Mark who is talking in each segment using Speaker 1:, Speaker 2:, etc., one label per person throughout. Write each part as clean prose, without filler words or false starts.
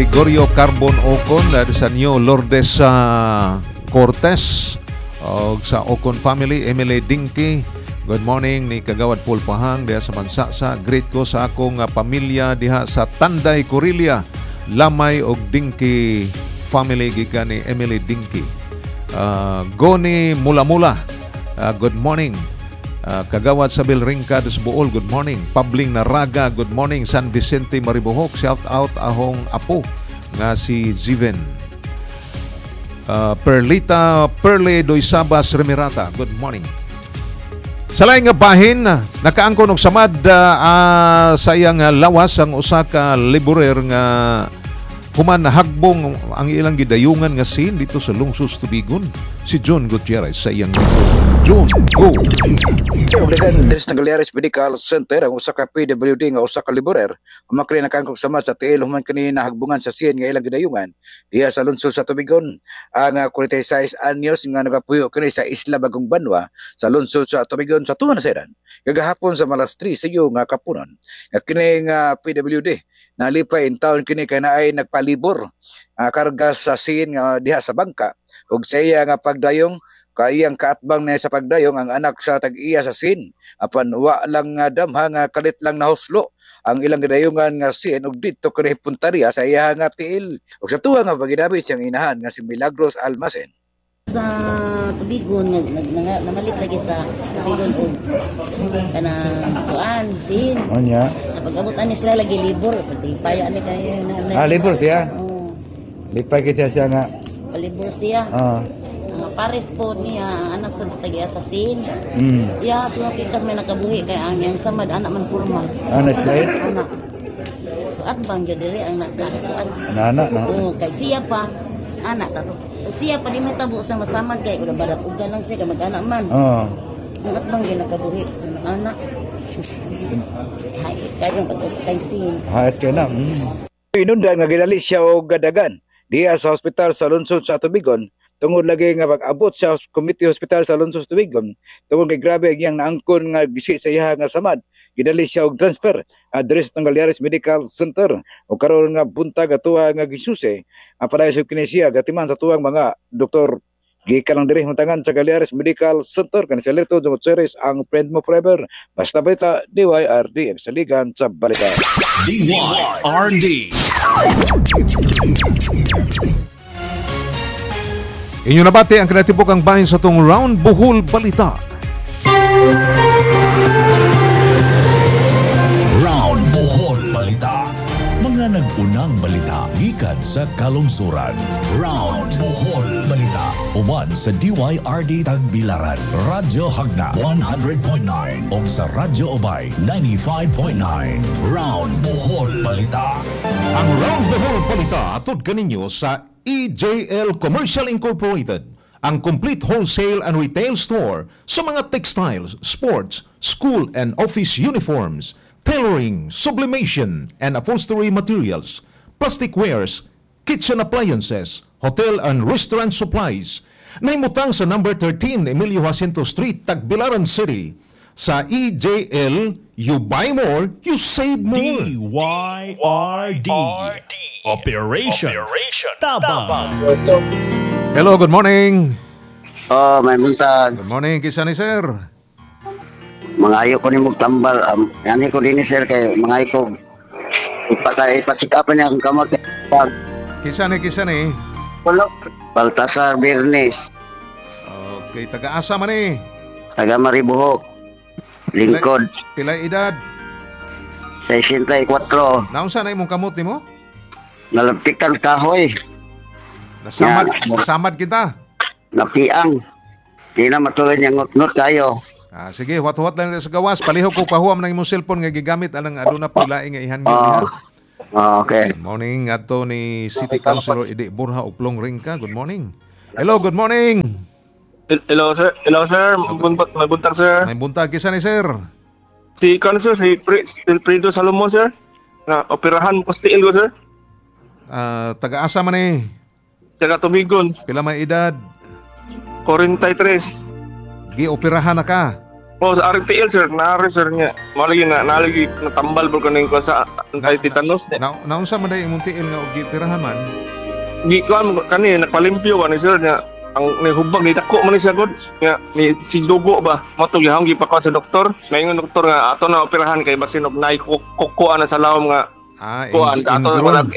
Speaker 1: Gregorio Carbon Ocon sa New Lourdes sa Cortez og sa Ocon family, Emily Dinky. Good morning ni Kagawad Paul Pahang diha sa Mansasa. Greet ko sa akong pamilya diha sa Tanday, Corilia, Lamay og Dinky family, gikan ni Emily Dinky. Goni Mula Mula, good morning. Kagawad sa Bilringka sa Buol, good morning. Pabling Naraga, good morning. San Vicente Maribohok, shout out ahong apo nga si Ziven. Perlita Perle Doysabas Remirata, good morning. Sa laing nga bahin, nakaangkon og samad sa iyang lawas ang usa ka laborer nga human nahagbong ang ilang gidayungan nga scene dito sa lungsod sa Tubigon. Si John Gutierrez sa iyang report. John, go!
Speaker 2: Obligan diri sa Galeares Medical Center ang usa ka PWD nga usa ka laborer umakri nakaangkog sama sa tiil human kini nahagbungan sa scene nga ilang gidayungan diha sa lungsod sa Tubigon. Ang 46 anyos nga nagapuyo kini sa Isla Bagong Banwa sa lungsod sa Tubigon sa tuwa na kagahapon sa malas 3 siyo nga kapunon. Nga kini nga PWD nalipay in town kini kay naay nagpalibor karga sa scene nga diha sa bangka ug sa iya nga pagdayong kaiyang kaatbang niya sa pagdayong ang anak sa tag-iya sa scene, apan wa lang nga damha nga kalit lang nahuslo ang ilang gidayungan nga scene ug didto kini punteriya sa iya nga tiil. Ug sa tuwa nga paginabi siyang inahan nga si Milagros Almacen.
Speaker 3: Sa Tubigon nag, nag, nag, namalit lagi sa Tubigon og kanang kuan sin.
Speaker 4: Onya.
Speaker 3: Pag-abot ani sila lagi libor pati payo ani kay na.
Speaker 4: Ah, libor siya?
Speaker 3: Oo.
Speaker 4: Lipay kita siya nga.
Speaker 3: Palibor siya. Ang pares po niya ang anak sa tagiya sa sin. Iya sumakikas may nakabuhi kay ang iyang samad anak man kurma.
Speaker 4: Ah, na-slide?
Speaker 3: Anak. So atbang gyud diri ang nakakuan.
Speaker 4: Anak na.
Speaker 3: Oo, kay siya pa anak ta to. Ug siya pa di may tabo sa masamad kay ura barat uga lang siya kay mag-anak man. Ang atbang gyud nakabuhi so anak. Hay kayo pag kay sin.
Speaker 4: Hayat ka na.
Speaker 2: Inundan nga gidali siya og gadagan diha sa ospital sa lungsod sa Tubigon tungod lagi nga pag-abot sa community hospital sa lungsod sa Tubigon tungod kay grabe ang iyang naangkon nga gisi sa iya nga samad, gidali siya og transfer diri sa Galeares Medical Center. Ug karon nga buntag atuwa nga gisusi ang padayon sa kini siya gatiman sa tuwang mga doktor. Gikan lang diri huntangan sa Galeares Medical Center, kani si Alerto Gutierrez, ang friend mo forever. Basta balita, DYRD, saligan sa balita.
Speaker 5: DYRD.
Speaker 1: Inyo nabati ang kinatibuk ang bahin sa tong Round Bohol Balita.
Speaker 5: Round Bohol Balita. Mga nag-unang balita gikan sa kalungsuran. Round Bohol Balita. Uban sa DYRD Tagbilaran, Radyo Hagna 100.9 ug sa Radyo Obay 95.9. Round Bohol Balita.
Speaker 1: Ang Round Bohol Balita atod kaninyo sa EJL Commercial Incorporated, ang complete wholesale and retail store sa mga textiles, sports, school and office uniforms, tailoring, sublimation, and upholstery materials, plastic wares, kitchen appliances, hotel and restaurant supplies. Nahimutang sa number 13 Emilio Jacinto Street, Tagbilaran City. Sa EJL, you buy more, you save more.
Speaker 5: DYRD. Operation. Tabang.
Speaker 1: Hello, good morning.
Speaker 6: Oh, may buntag.
Speaker 1: Good morning, kisa ni sir.
Speaker 6: Mga ko ni tambal. Yani ko din sir kay mga ko ipa-check up niya ang kamot.
Speaker 1: Kisa ni.
Speaker 6: Baltasar Bernes.
Speaker 1: Okay, taga-asa man ni.
Speaker 6: Taga Maribuhok. Lingkod.
Speaker 1: Pila edad?
Speaker 6: 64.
Speaker 1: Naunsa na imong kamot nimo?
Speaker 6: Nalaptikan kahoy.
Speaker 1: Nasamad,
Speaker 6: Yeah.
Speaker 1: nasamad kita.
Speaker 6: Napiang. Di na matuloy niya ngutnot kayo.
Speaker 1: Ah, sige, huwat-huwat lang sa gawas. Palihog ko pahuam ng imong cellphone nga gigamit anang aduna po laing nga ihan
Speaker 6: Oh. Okay.
Speaker 1: Good morning ato ni City Councilor Idi Borja Uplong Ringka. Good morning. Hello, good morning.
Speaker 7: Hello sir, hello sir, may buntag sir.
Speaker 1: May buntag kisa ni sir.
Speaker 7: Si kan sir, si Wilfredo Salomon sir. Na operahan ko sa tiil ko sir.
Speaker 1: Taga-asa man eh.
Speaker 7: Taga Tubigon.
Speaker 1: Pila may edad?
Speaker 7: 43.
Speaker 1: Gioperahan na ka?
Speaker 7: Oh, sa RTL sir, naari sir niya. Mao lagi na nalagi natambal bro kaning kuan sa anti-tetanus niya.
Speaker 1: Na naunsa man day imong tiil nga og gipirahan man?
Speaker 7: Gi kuan mo kani nagpalimpyo ba ni sir niya. Ang nihubag ni dako man ni siya gud nga ni si dugo ba mo to gihang gipakuha sa doktor. Maingon doktor nga ato na operahan kay basin og naay kukuan na sa lawom nga kuan ato na wala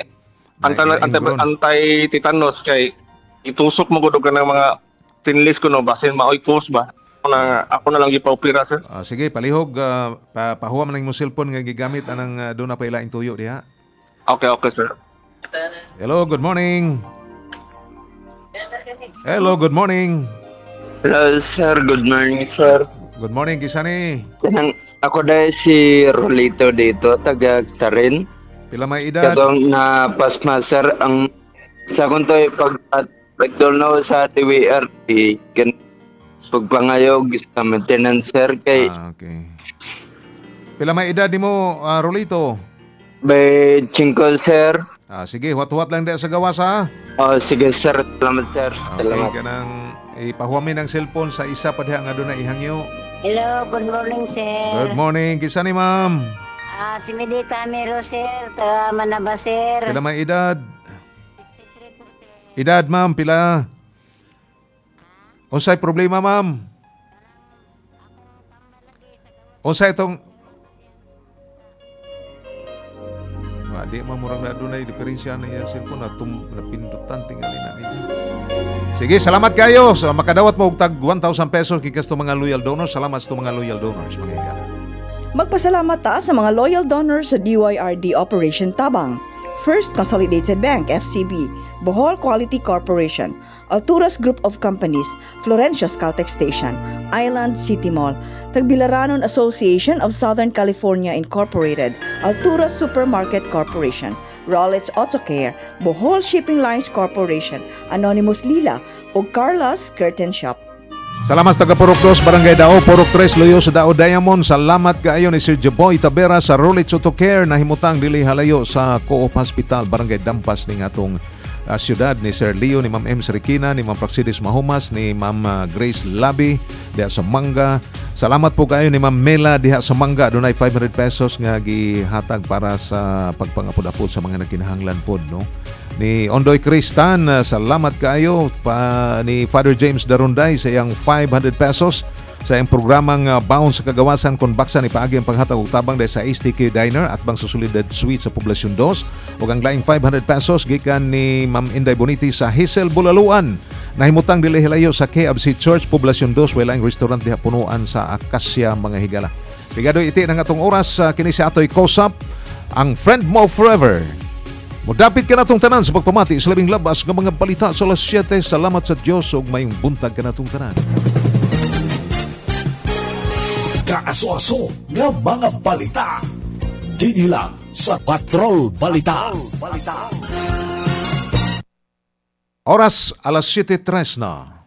Speaker 7: anti tetanus kay itusok mo gud og kanang mga stainless kuno basin maoy cause ba. Na, ako na lang gipa-opera sir.
Speaker 1: Sige, palihog pahuwa man ang imong cellphone nga gigamit anang doon na pa ilaing tuyo diha.
Speaker 7: Okay, okay sir.
Speaker 1: Hello, good morning. Hello, good morning.
Speaker 8: Hello sir, good morning sir.
Speaker 1: Good morning, kisa ni?
Speaker 8: Ako dahil si Rolito dito, taga Sarin.
Speaker 1: Pila may edad?
Speaker 8: Katong na pasma sir, ang sa kung to'y pag-pagdulnaw sa DWRT, pagpangayog sa maintenance sir kay
Speaker 1: okay. Pila may edad nimo Rolito?
Speaker 8: By 5 sir.
Speaker 1: Sige, huwat-huwat lang diha sa gawas ha.
Speaker 8: Oh, sige sir, salamat sir.
Speaker 1: Okay,
Speaker 8: salamat.
Speaker 1: Kanang ipahuwamin ang cellphone sa isa pa diha nga doon na ihangyo.
Speaker 9: Hello, good morning sir.
Speaker 1: Good morning, kisa ni ma'am?
Speaker 9: Si Medita Mero sir, taga Manaba sir.
Speaker 1: Pila may edad? Edad ma'am, pila? Unsay problema, ma'am? Unsay itong... Di man murang na doon ay diferensya na iyang cellphone na napindutan tingali na niya. Sige, salamat kayo. So, makadawat mo og tag 1,000 pesos gikas to mga loyal donors. Salamat sa mga loyal donors, mga higala.
Speaker 10: Magpasalamat ta sa mga loyal donors sa DYRD Operation Tabang. First Consolidated Bank, FCB, Bohol Quality Corporation, Alturas Group of Companies, Florencia's Caltex Station, Island City Mall, Tagbilaranon Association of Southern California Incorporated, Alturas Supermarket Corporation, Rollins Auto Care, Bohol Shipping Lines Corporation, Anonymous Lila, ug Carla's Curtain Shop.
Speaker 1: Salamat sa taga Purok 2, Barangay Dao, Purok 3, Luyo sa Dao Diamond. Salamat kaayo ni Sir Jaboy Tabera sa Rollins Auto Care na himutang dili halayo sa Co-op Hospital, Barangay Dampas ning atong siyudad, ni Sir Leo, ni Ma'am M. Srikina, ni Ma'am Praxidis Mahumas, ni Ma'am Grace Labi diha sa Mangga. Salamat po kayo ni Ma'am Mela diha sa Mangga. Dunay 500 pesos nga gihatag para sa pagpangapod-apod sa mga nagkinahanglan pod, no? Ni Ondoy Kristan, salamat kaayo pa ni Father James Darunday sa iyang 500 pesos sa iyang programang Baon sa Kagawasan kon baksa ni paagi ang paghatag og tabang dahil sa STK Diner at bang Susulidad Suite sa Poblacion 2 ug ang laing 500 pesos gikan ni Ma'am Inday Boniti sa Hazel Bulaluan nahimutang dili hilayo sa KFC Church Poblacion 2 way laing restaurant diha punuan sa Acacia mga higala. Pigado iti ng atong oras kini si Atoy Kosap ang friend mo forever. Mudapit ka natong tanan sa pagpamati sa labing labas ng mga balita sa alas 7. Salamat sa Diyos ug mayong buntag ka natong tanan.
Speaker 5: Kaaso-aso nga mga balita. Dinhi lang sa Patrol Balita.
Speaker 1: Oras alas 7:03 na.